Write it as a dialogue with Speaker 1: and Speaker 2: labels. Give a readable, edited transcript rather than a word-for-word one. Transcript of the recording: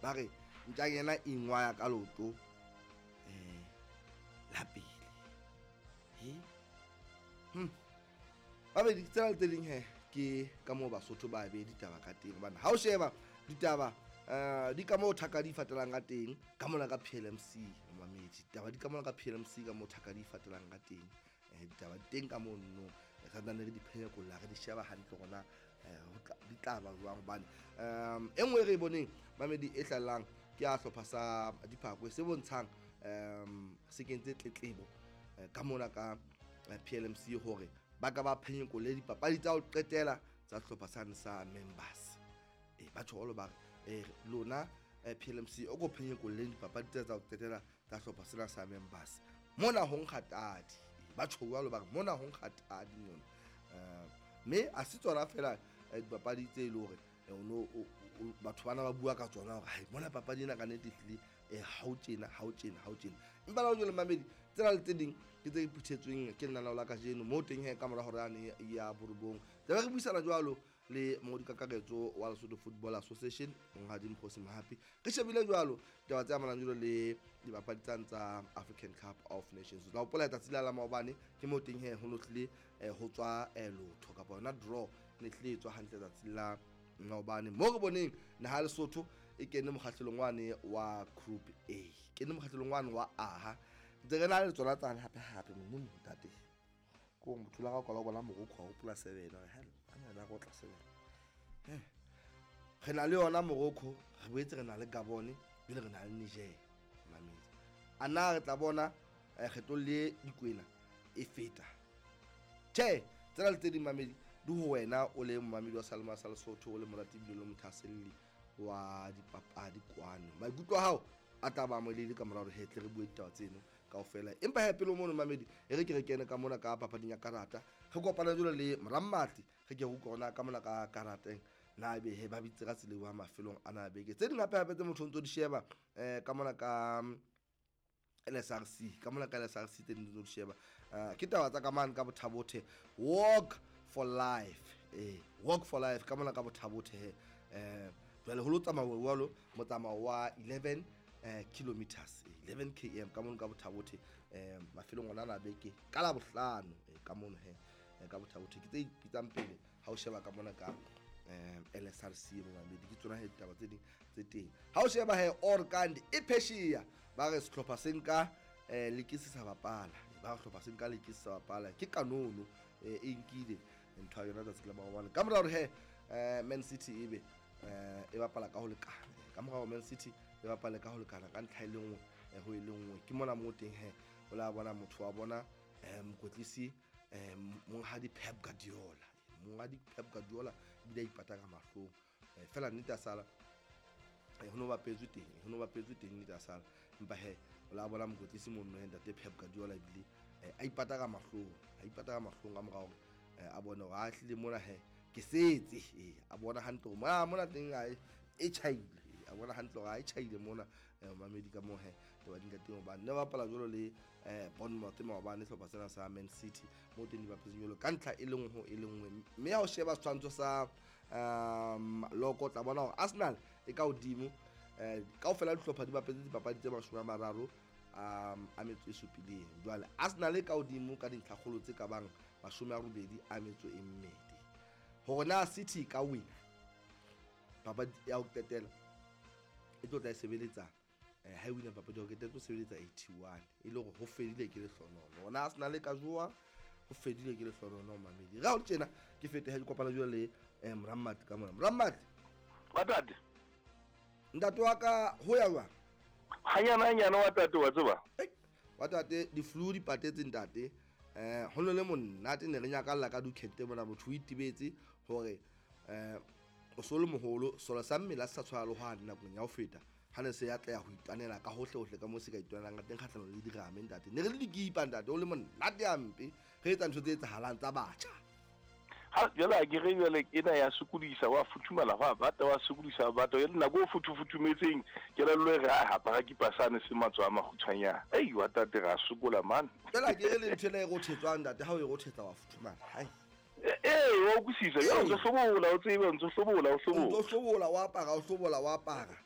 Speaker 1: Ba re ntjanyana e ingwaya ka leoto la pele. He? Babedi tsena le tse ding he ke ka moo Basotho ba be ditaba ka teng, hobane ha o sheba ditaba di ka moo thaka di fatelang ka teng ka mona ka PLMC, mamedi. Ditaba di ka mona ka PLMC ka moo thaka di fatelang ka teng. Ditaba di teng ka moo nno re santsane re di phenyekolla, re di sheba hantle hore na di tla ba jwang, hobane e nngwe e re e boneng mamedi e hlahellang ke ya hlopha sa Diphakwe se bontshang se kentse tletlebo ka mona ka PLMC hore ba ka ba phenyekolle dipapadi tsa ho qetela tsa sehlopha sane sa members. Ba tjho ba re lona PLMC o ko phenyekolleng dipapadi tsa ho qetela tsa sehlopha sena sa members. Mona ho nkga tadi. Ba tjho jwalo ba re mona ho nkga tadi mona. Mme a se tsona fela dipapadi tse e le hore batho bana ba bua ka tsona hore hai mona papadi ena ka nnete ehlile ha o tjena, ha o tjena, ha o tjena. Empa la jwale mamedi tsena le tse ding ke tse phuthetsweng ke lenaneo la kajeno moo teng he ka mora hore yane ya borobong. Tlabe re buisana jwalo le mongodi kakaretso wa Lesotho Football Association Monghadi Mokgosi Mohapi. Re shebile jwalo taba tse amanang jwalo le dipapadi tsane tsa African Cup of Nations. O tla hopola letsatsi la la maobane ke moo teng he ho no hlile ho tswa lotho kapa yona draw ne hlile e tswa hantle letsatsi la maobane. Moo re boneng naha ya Lesotho e kene mokgahlelong wane wa Group A, kene mokgahlelong wane wa A. Ntse re na le tsona tsane hape hape modimo ntate. Ko motho la ka kwala bona Morocco wa hopola 7 hore hell a na go tla 7. Re na le yona Morocco, re boetse re na le Gabon, pele re na le Niger mamedi. A na re tla bona kgetlong le dikwena e feta. Tjhe, tsena le tse ding mamedi di ho wena o le momamedi wa Salema sa Lesotho, o le morati ebile o le mothahaselli wa dipapadi kwano. Maikutlo a hao a tla ba molele ka mora hore he tle re bue ditaba tseno kaofela. Empa he pele mono mamedi e re ke re kene ka mona ka papading ya karata, re kopana jwalo le Morammatli, re ke re utlwe hore na ka mona ka karateng na ebe he ba bitse ka tsela eo mafelong ana a beke. Tse ding hape hape tse motho o ntso di sheba ka mona ka LSRC, ka mona ka LSRC tse ding tse di sheba ke taba tsa ka mane ka Bothabothe, Walk for Life, Walk for Life ka mona ka Bothabothe he. Jwale ho lo tsamauwa jwalo motsamao wa 11 kilometers, 11 km ka mono ka Bothabothe, mafelong ona a beke ka la bohlano, ka mono he, ka Bothabothe. Ke tse ipitsang pele ha o sheba ka mona ka LSRC momamedi, ke tsona he ditaba tse ding tse teng. Ha o sheba he Orkand e phesheya, ba re sehlopha se nka le ke se sa bapala, ba re sehlopha se nka le ke se sa bapala ke kanono e nkile ntho ya yona tsatsi la maobane. Ka mora hore he Man City ebe e bapala ka ho lekana, ka mora hore Man City e bapale ka ho lekana ka ntlha e le nngwe ho e le nngwe, ke mona moo teng he o la bona motho wa bona mokwetlisi monghadi Pep Guardiola, monghadi Pep Guardiola ebile a ipata ka mahlong. Fela nnete a sala ho no bapetswe teng, ho no bapetswe teng nnete a sala. Empa he o la bona mokwetlisi mono he ntate Pep Guardiola ebile a ipata ka mahlong, a ipata ka mahlong ka mora hore a bone hore a hlile mona he ke setse, a bona hantle hore mona teng a e tjhaile, a bona hantle hore a e tjhaile mona mamedi ka moo he taba di nka teng, hobane ne ba bapala jwalo le Bournemouth maobane, sehlopha sena sa Man City moo teng di bapetseng jwalo ka ntlha e le nngwe ho e le nngwe. Mme ha o sheba setshwantsho sa loko, tla bona hore Arsenal e ka hodimo, kaofela dihlopha di bapetse dipapadi tse 30 a metso e supileng. Jwale Arsenal e ka hodimo ka dintlhakgolo tse ka bang 82. Hore na City ka wina papadi ya ho qetela e tlo tla e sebeletsa, ha e wina papadi ya ho qetela e tlo sebeletsa 81, e le hore ho fedile ke lehlonono. Hore na Arsenal e ka jowa, ho fedile ke lehlonono mamedi. Re ha ho le tjena ke fete ha ke kopana jwale le Morammatli ka mona. Morammatli.
Speaker 2: Wa tate.
Speaker 1: Ntate wa ka ho ya jwang?
Speaker 2: Hanyana hanyana wa tate wa tseba.
Speaker 1: Wa tate di flu di patetse ntate. Ho no le monate ne re nyakalla ka dukete mona, motho o itebetse hore o so le moholo, solo sa mmele a se sa tshwana le hwane nakong ya ho feta. Ha ne se ya tla ya ho itwanela ka hohle hohle ka moo se ka itwanelang ka teng kgahlanong le dirame ntate. Ne re le dikipa ntate, o le monate hampe, re etsa ntho tse etsahalang tsa batjha.
Speaker 2: Ha jwale a ke re jwale ena ya sokodisa, wa futhumala, wa bata, wa sokodisa, wa bata. Jwale nako o futhufuthumetseng, kelello e re, ha hapara kipa sane se matsoho a makgutshwanyane. Ei, wa tate, ra sokola mane.
Speaker 1: Jwale a ke re le ntho ena e rothetswang ntate, ha o e rothetsa wa futhumala. Hai.
Speaker 2: Wa utlwisisa. Jwale o ntso hlobola, o tsebe, o ntso hlobola, o hlobola.
Speaker 1: O ntso hlobola, wa apara, o hlobola, wa apara.